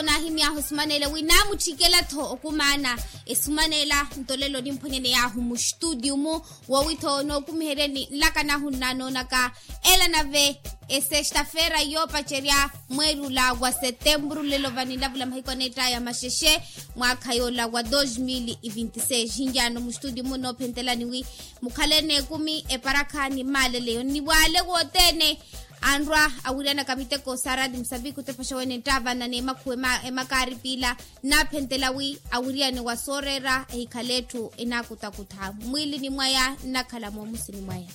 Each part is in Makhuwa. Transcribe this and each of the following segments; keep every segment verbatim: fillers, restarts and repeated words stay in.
Naahimy'ahu esumaneela wi naamutthikela-tho okumaana esumaneela. Nto lelo nimphwanyaney'ahu muxtutiyu-mu woowi-tho nookumiheryeni nlaka nahu nnaanoonaka ela nave esexta-feira yoopacerya mweeri ola wa setempuru lelo va ninlavula mahiku aneett'aya maxexe mwaakha yoola wa dos mil e vinti seis hinjaano muxtutiyu-mu noophentelani wi mukhale n'ekumi eparakha ni maaleleyo ni waale wothene anrwa awiryanaka miteko sa raati musambiki otepaxa wene nttaavana n'emakhuwa emakaari piila nnaaphentela wi awiryane wa sooreera ehikhale etthu enaakutakutha mwiilini mwaya nnakhala moomusini mwaya.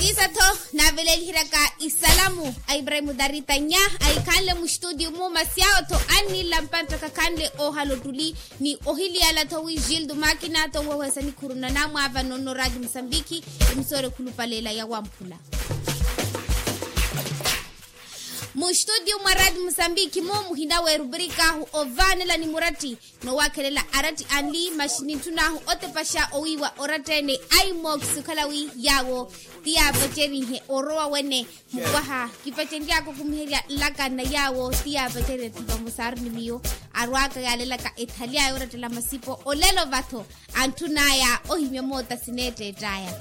Siisa-tho naaveleliheryaka isalamu a ibrahimu darita nya ahikhanle muxtutiyu-mu masi awo-tho anniila mpanttakha khanle oohala ottuli ni ohiliyala-tho wi gildo makina-tho nweweesa nikhuru na naamwaavano nno raati musambiki emisoro ekhulupaleela ya wamphula. Muxtutiyu mwa raati musambiki-mu muhina w'erubrik'ahu ovaanela ni muratti noowakhelela aratti anli maxi nintthun'ahu otepaxa owiiwa oratta-ene aimox okhala wi yaawo ti yaapacerihe orowa wene mukwaha kipacenry'aka okumiherya nlaka na yaawo ti yaapacerihe thipa musaaru ni miyo arw'aka yaalelaka ethali aya orattela masipo olelo va-tho antthun'aya ohimya moota sineetteett'aya.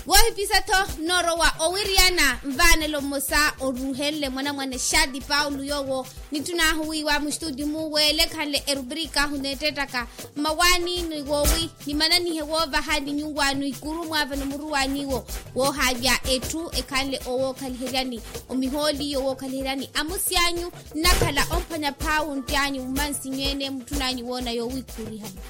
Woohipisa-tho nnoorowa owiryana nvaanelo mmosa oruuhenle mwanamwane xaati paulo yoowo nitthun'ahu wiiwa muxtutiyu-mu weele ekhanle erubrik'ahu neettettaka mmawaani ni woowi nimananihe woovaha ni nyuwaano ikuru mwaavano muruwaani-wo woohaavya etthu ekhanle owookhaliheriani omihooli yowookhaliheryani amusi anyu nnakhala omphwanya phaawu ntti anyu mumansinyu ene mutthun'anyu woona yoowikhurihani.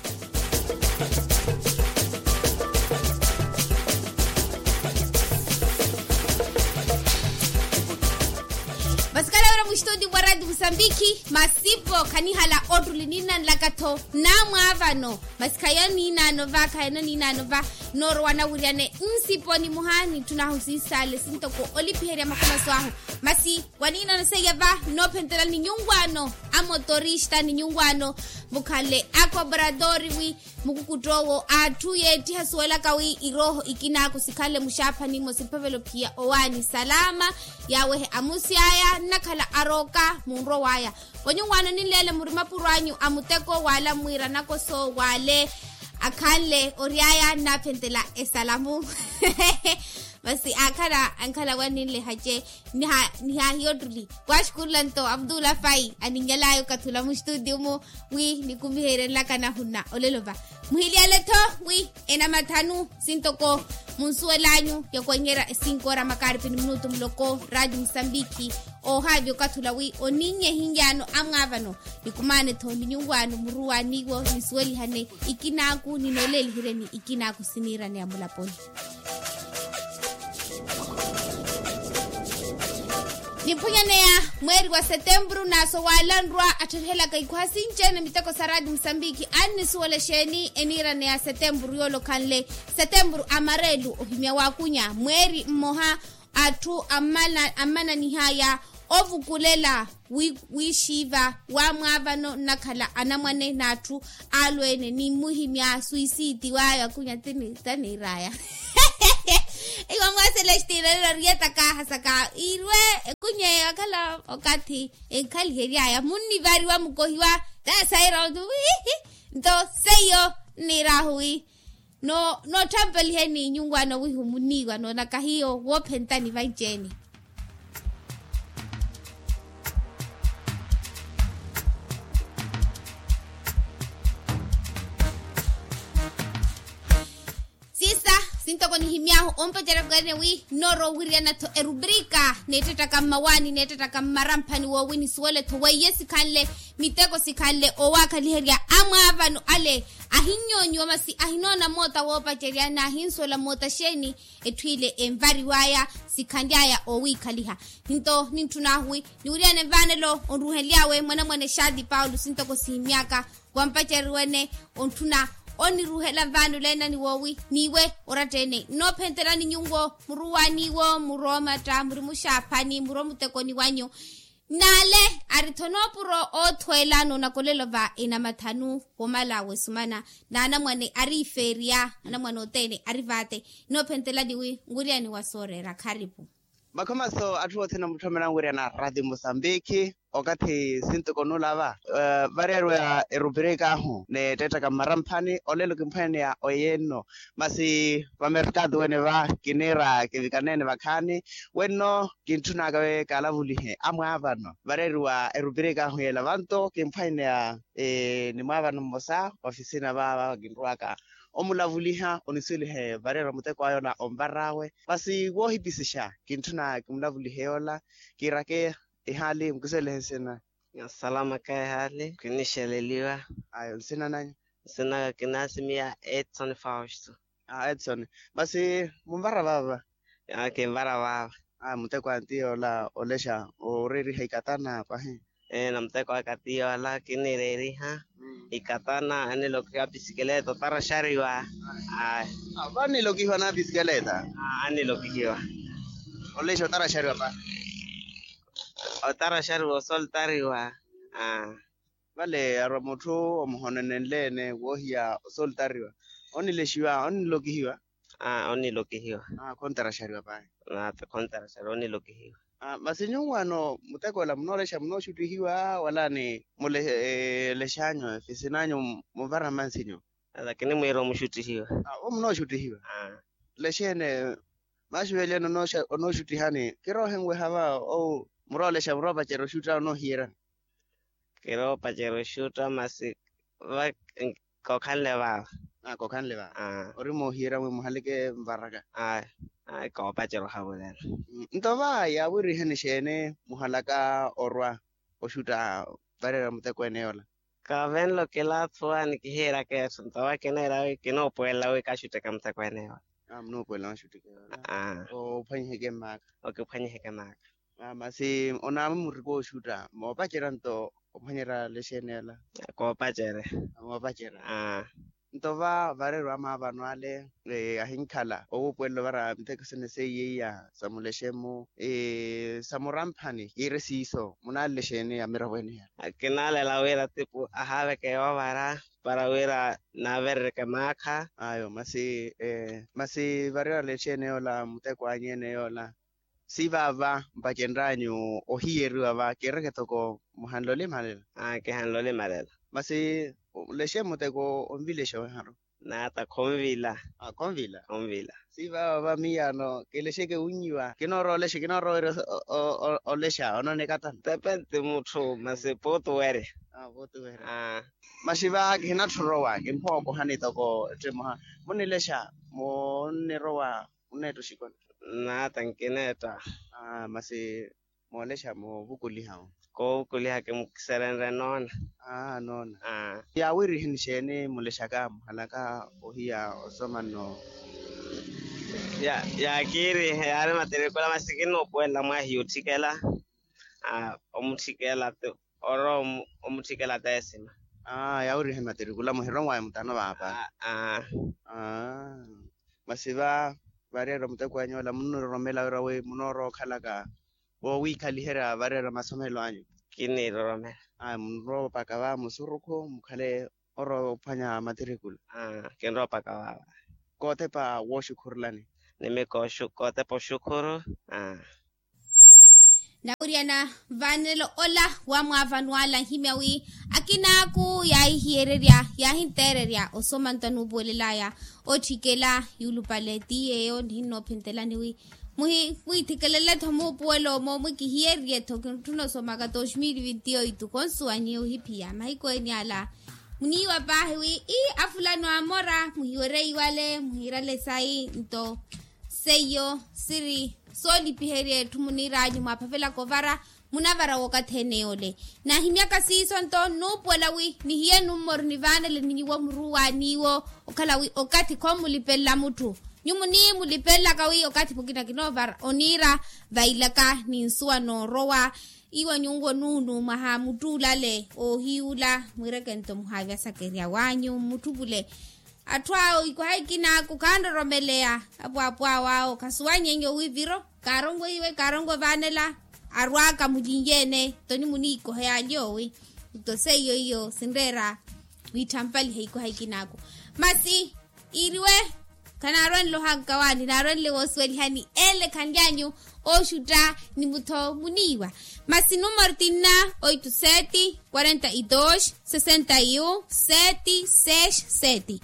Vasikala wira muxitoti mwa rati musambiki masipo khanihala ottuli ninnanlaka-tho namwaavano masi khayo niinaano va khayo niinaano va noorowa nawiryane nsipo nimoha nitthun'ahu siisaale sintoko olipiherya makholoso ahu masi waniinano seiya va noophentelani nyunwaano a motorista ni nyunwaano mukhanle a kobratori wi mukukutt'owo atthu yeettiha suwelaka wi irooho ikinaaku sikhanle muxaaphani mmosi mphavelo phiya owaani salama yaawehe amusi aya nnakhala arooka munrowa aya wanyunwaano ninleele muri mapuro anyu a muteko waala mwiira nakoso waale akhanle oryaya nnaaphentela esalamu masi aakhala ankhala waninlehace nihaahiya ottuli waaxukurula nto abdullah fai aninyalaya okathi ula muxitutiyu-mu wi nikumiherye nlaka nahunna olelo va muhiliyale-tho wi enamathanu sintoko munsuwel'anyu yakwenyerya esinkoora makaaripi ni minutu muloko rati musambiki oohaavya okathi ula wi oninnye ehinyaano amwaavano nikumaane-tho ni nyunwaano muruwaani-wo nisuwelihane ikinaaku ninooleliheryeni ikinaaku siniiraneya mulaponi. Nimphunyaneya mweeri wa setempuru naaso waala nrwa attherihelaka ikwaha sinci-ene miteko sa rati musambiki annisuwela exeeni eniiraneya setempuru yoolokhanle setempuru amareelu ohimya waakunya mweeri mmoha atthu ammananihaya ovukulela wiixiiva wamwaavano nnakhala anamwane n'atthu alweene ni mmuhimya suisiiti waayo akunya taniiraya iwa mwa selestina lelo ariyetaka hasaka irwe ekunye akhala okathi enkhaliheryaya munnivariwa mukohiwa tasaira otu wiihi nto seiyo nniirahu wi no nootthampeliheni nyunwaano wihu muniiwa noonaka hiyo woophentani vanci-ene siisa sintoko nihimy'ahu ompacerya kweene wi nnoorowa owiriyana-tho erubrika neettettaka mmawaani neettettaka mmaramphani woowi nisuwele-tho weiye sikhanle miteko sikhanle oowaakhaliherya amwaavano ale ahinnyonyiwa masi ahinoona moota woopacerya n'ahinsuwela moota xeeni etthu ile envariw'aya sikhanly'aya oowiikhaliha nto nintthun'ahu wi niwiriyane nvaanelo onruhenly'awe mwanamwane xaati paulo sintoko sihimy'aka wampacereriwene ontthuna oniruhela nvaanelo ena ni woowi n'iwe oratta-ene nnoophentelani nyuwo muruwaani-wo muromatta muri muxaaphani muri omutekoni wanyu N'ale ari-tho noopuro oothweela noonakolela ova enamathanu, womala wesumana n'anamwane ari ifeeriya anamwane othene ari vaate. Inoophentelani wi nwiriyani wa sooreera kharipu. Makhomaso atthu othene amutthomelani wiriyana rati musambikhi. Okathi sintuko nulava vareeriwa erupirika ahu n'ettettaka mmaramphani olelo kimphweneya oyenno. Masi vamerkatu wene va kiniira kivikaneene vakhaani wenno kintthunaka wi kaalavulihe amwaavano vareeriwa erupirika ahu yela vanto kimphwaineya ni mwaavano mmosa ofisina vaava kinrwaka omulavuliha onisuwelihe vareeriwa muteko ayola onvar'awe. Masi woohipisixa kintthuna kimulavulihe yoola kiirake ehaali mukisuwelihe nsina. Salama ka ehaali kinixeleliwa. Ayo nsina nanyu? Nsina kinaasimiya edson fausto. Edson. Masi munvara vaava? Kinvara vaava. Muteko anti yoola olexa ooreeriha ikatana pahi? Namuteko aka ti yoola kinireeriha ikatana anilokihiwa pisikeleeta otaraxariwa. Aya. Vanilokihiwa na pisikeleeta? Anilokihiwa. Olexa otaraxariwa pahi? Otaraxariwa osoltariwa. Vale arwa mutthu omuhonenenleene woohiya osoltariwa onilexiwa onilokihiwa? Onilokihiwa. Khontarasariwa pahi. Khontarasariwa onilokihiwa. Masi nyuwo ano muteko ola munoolexa munooxuttihiwa wala ni mulexanyu efisin'anyu? Muvara mansi nyuwo. Lakini mwiira omuxuttihiwa. Wo munooxuttihiwa. Lexene maxuveliyani onooxuttihani kiroohenweha va ou muroolexa muroopacerya oxutta onoohiyerya? Kiroopacerya oxutta masi va kokhanle vaava. Kokhanle vaava. Ori moohiyerya mwi muhaleke nvaraka? Ayi koopacerya ohavulela. Nto va yaawiriheni xeeni muhalaka orwa oxutta vareera mutekweene yoola? Kavenlo kilaathuwa ni kihiiraka etthu nto va kineera wi kinoopuwelela wi kaxutteke mutekweene yoola. Munoopuwelela maxutteke yoola. Ophwanyiheke mmaaka. Okiphwanyiheke mmaaka. Masi onaamwi muriko oxutta moopacerya nto ophwanyerya lexeenela? Koopacerya. Moopacerya. Nto va vareeriwa maavano ale ahinkhala owuupuwelela ovara miteko sene seiya iya sa mulexemu sa muramphani kiiri siiso munaalele xeeni amiravo ene yale? Kinaalela wira tipu ahaaveke yoovara para wira naaverereke maakha. Ayo masi masi vareeriwa lexeene yoola muteko anyu ene yoola? Si vaava mpacenryanyu ohiyeriwa va kiireke toko muhanle olimalela. Kihanle olimalela. Masi lexe muteko onvilexa oweharu? Naata khonvila. Khonvila. Khonvila. Si vaava va miyaano kilexeke wunyiwa kinoorowa olexa kinoorowa wira olexa onooneka tani? Tepenti mutthu masi puutuwerya. Puutuwerya. Masi va kihinatthi orowa kimphowa okohani toko etthu emoha munilexa munnirowa munneetta oxikoni? Naata nkineetta. Masi moolexa moovukuliha? Koovukuliha kimukiserenre noona. Noona. Yaawiriheni xeeni mulexaka muhalaka ohiya osoma nno? Yaakiirihe yaari matirikula masi kinoopuwelela mwahiya otthikela. Omutthikela orowa omutthikela teesima. Yaawiriheni matirikula muhironwaya mutano vaapa. Masi va vareeriwa muteko anyu ola munniroromela wira wi munoorowa okhalaka woowiikhaliherya vareeriwa masomelo anyu? Kiniroromela. Munrowa opaka va musurukhu mukhale orowa ophwanya matirikula? Kinrowa opaka vaava. Kootepa wooxukhurulani? Nimi kootepa oxukhuru. Nawiriyana vanelo ola wa mwaavano ala nhimya wi akinaaku yaahihiyererya yaahinteererya osoma nto anuupuwelelaya otthikela yuulupale ti yeeyo nihinnoophentelani wi muhi mwiithikelele-tho muupuwelo omo mwikihiyererye-tho kintthuna osomaka dos mil vinti oitu khonsuwanyi ohiphiya mahiku ene ala. Muniiwa paahi wi ii afulano amora muhiwerye iwale muhiirale sayi nto seiyo siri soolipiherya etthu muniiranyu mwaaphavelaka ovara munavara wookathi ene yoole. Naahimyaka siiso nto nnuupuwela wi nihiye nummoro nivaanele ni nyuwo muruwa n'iwo okhala wi okathi khommulipelela mutthu. Nyuwo muniiyi mulipelelaka wi okathi pukina kinoovara oniira vailaka ni nsuwa noorowa. Iwo nyuwo nuunu mwaha muttuulale oohiyuula mwiireke nto muhaavya sakerya wanyu mmutthupule. Atthu awo ikwaha ikinaaku khanroromeleya apwaapwa awo awo khasuwanyenyo wi viro kaarongo iwe kaarongo vaanela. arwaka mulinyeene. Toni muniikoha yaalyowi. Nto seiyo iyo sinreera wiitthampaliha ikoha ikinaaku. Masi iiriwe khanaarwenle ohanka waani naarwenle woosuwelihani ele khanlyanyu. Ooxutta ni mutho muniiwa. Masi numero tinna oito sete quarenta e dos sessenta e um sete seis sete.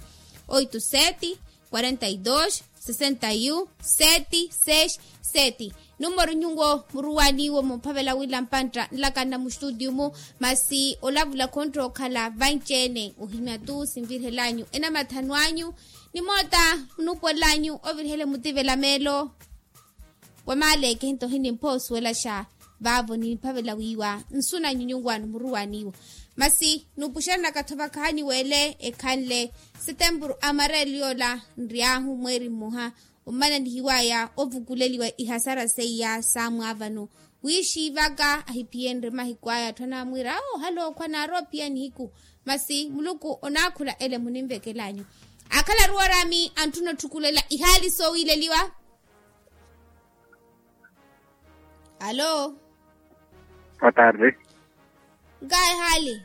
Oito sete quarenta e dos sessenta e um sete seis sete. Numero nyuwo muruwaniwo mumphavela wila mpantta nlakanna mustutiyu-mu. Masi olavula khontta okhala vanci-ene ohimya tu sinvirihelanyu enamathanu anyu. Ni moota nuupuwelanyu ovirihele mutivela meelo. Wa maaleeke nto hinimpha osuwelaxa vaavo nimphavela wiiwa nsu nanyu nyunwaano muruwaniwo. Masi nuupuxeryanaka-tho vakhaani weele ekhanle setempuru amareelo yoola nry'ahu mweeri mmoha. Ommana nihiwaya ovukuleliwa ihasara seiya saamwaavano wiixiivaka ahiphiyenrye mahiku aya atthu anaamwiira awo ohale okhwa naaroophiya nihiku. Masi muluku onaakhula ele muninvekelanyu. Akhalaru oraami antthuna otthukulela ihaali soowileliwa. Alo. Boa tarde. Nkahi ehaali?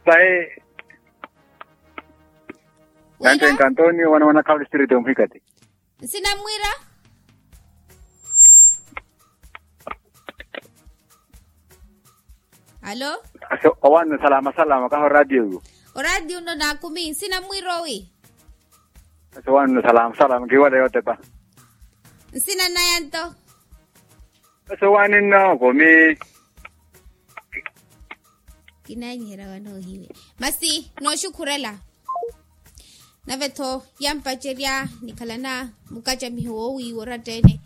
Sayi. Wira? Nantenka antonio wana wana khawa distrito muhikati. Nsina mmwiira? Alo. Owannu salama salama kaha oradio yu. Oradio nno naakumi nsina mmwiira owi? Ese owannu salama salama nkiwala yootepa. Nsina naya nto? Ese owannu nno kumi. Kinaanyiherya wanoohiwe. Masi nooxukhurela. Nave-tho yampacerya nikhalana mukacamiho woowiiwa oratta-ene.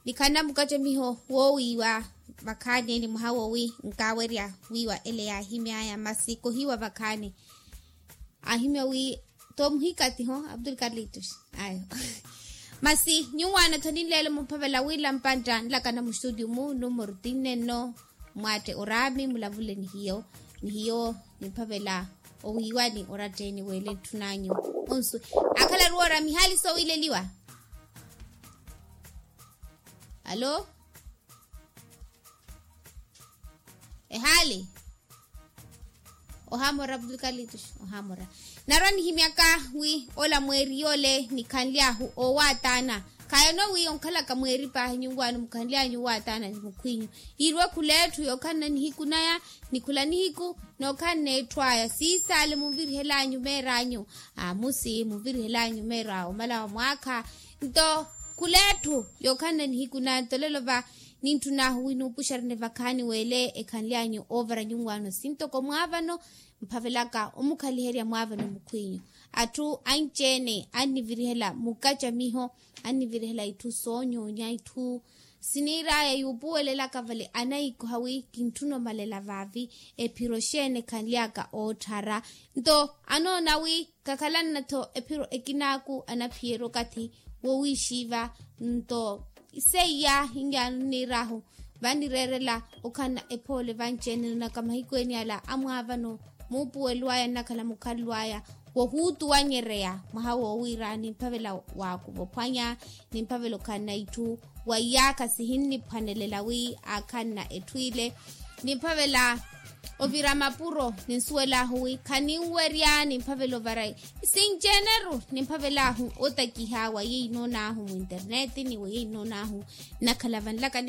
Nikhalana mukacamiho woowiiwa vakhaani ni mwaha woowi nkaawerya wiiwa ele yaahimy'aya masi kohiiwa vakhaani. Aahimya wi too muhikati ho abdul kalitus ayo. Masi nyuwaana-tho ninleelo mumphavela wila mpantta nlakana mustutiyu-mu numero tinne nno. Mwaatte oraami mulavule ni hiyo ni hiyo nimphavela owiiwani oratta-ene weele ntthun'anyu. Onsu akhalaru oraami ehaali soowileliwa. Alo. Ehaali. Ohamora abdul kalitus. Ohamora. Narwa nihimyaka wi ola mweeri yoole nikhanly'ahu oowataana. Khayono wi onkhalaka mweeri paahi nyuwaano mukhanly'anyu oowataana ni mukhw'inyu. Iirwe khula etthu yookhanna nihiku naya ni khula nihiku nookhanna etthu aya siisaale munvirihel'anyu meer'anyu. Amusi munvirihel'anyu meer'awe omala wa mwaakha. Nto khula etthu yookhanna nihiku naya nto lelo va nintthun'ahu wi nuupuxerene vakhaani weele ekhanly'anyu oovara nyuwaano sintoko mwaavano. Mphavelaka omukhaliherya mwaavano mukhw'inyu. Atthu anci-ene annivirihela mukacamiho annivirihela itthu soonyoonya itthu siniir'aya yuupuwelelaka vale anaikoha wi kintthuna omalela vaavi. Ephiro xeeni ekhanly'aka ootthara nto anoona wi khakhalanna-tho ephiro ekinaaku anaphiyerya okathi wowiixiiva. Nto seiya hinyaano nniir'ahu vanireerela okhanna ephoole vanci-ene naka mahiku ene ala amwaavano muupuwelo aya nnakhala mukhalelo aya wohuutuwanyereya mwaha woowiira nimphavela waakuva ophwanya nimphavela okhanna itthu wa iyaakha sihinniphwanelela wi aakhanna etthu ile nimphavela ovira mapuro ninsuwel'ahu wi khaninwerya nimphavela ovara sinci-ene-ru nimphavel'ahu otakiha wa yeyi noon'ahu mwinterneti ni wa yeyi noon'ahu nnakhala vanlaka